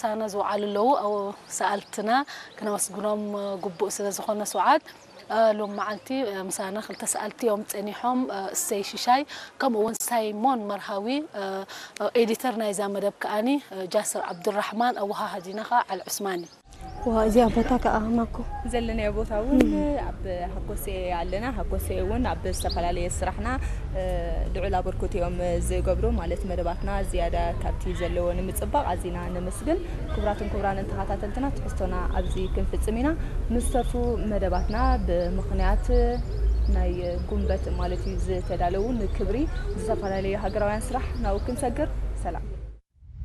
ምሳና ዝወዓሉ ኣለዉ። ኣብ ሰኣልትና ክነመስግኖም ግቡእ ስለ ዝኾነ፣ ስውዓት፣ እ፣ ሎም መዓልቲ፣ እ፣ ምሳና ክልተ ሰኣልቲ እዮም ጸኒሖም፣ እ፣ እሰይ ሽሻይ፣ ከምኡ እውን ሳይሞን መርሃዊ፣ እ፣ እ፣ ኤዲተር ናይዛ መደብ ከኣኒ፣ እ፣ ጃስር ዓብዱራሕማን፣ ኣወሃሃዲና ከኣ ዓሊ ዑስማን እዩ። ዋ፣ እዚኣ ቦታ ከኣ ማኮ። ዘለናዮ ቦታ እውን ኣብ ሃኮሴ ኣለና። ሃኮሴ እውን ኣብ ዝተፈላለየ ስራሕና፣ እ፣ ልዑል ኣበርክቶ እዮም ዝገብሩ፣ ማለት መደባትና ዝያዳ ካብቲ ዘለዎ ንምጽባቕ ኣዚና ነመስግን። ክቡራትን ክቡራንን ተኸታተልትና፣ ትሕዝቶና ኣብዚ ክንፍጽም ኢና። ንዝተርፉ መደባትና ብምኽንያት ናይ ጉንበት ማለት እዩ ዝተዳለዉ ንክብሪ ዝተፈላለዩ ሃገራውያን ስራሕ ናብኡ ክንሰግር። ሰላም።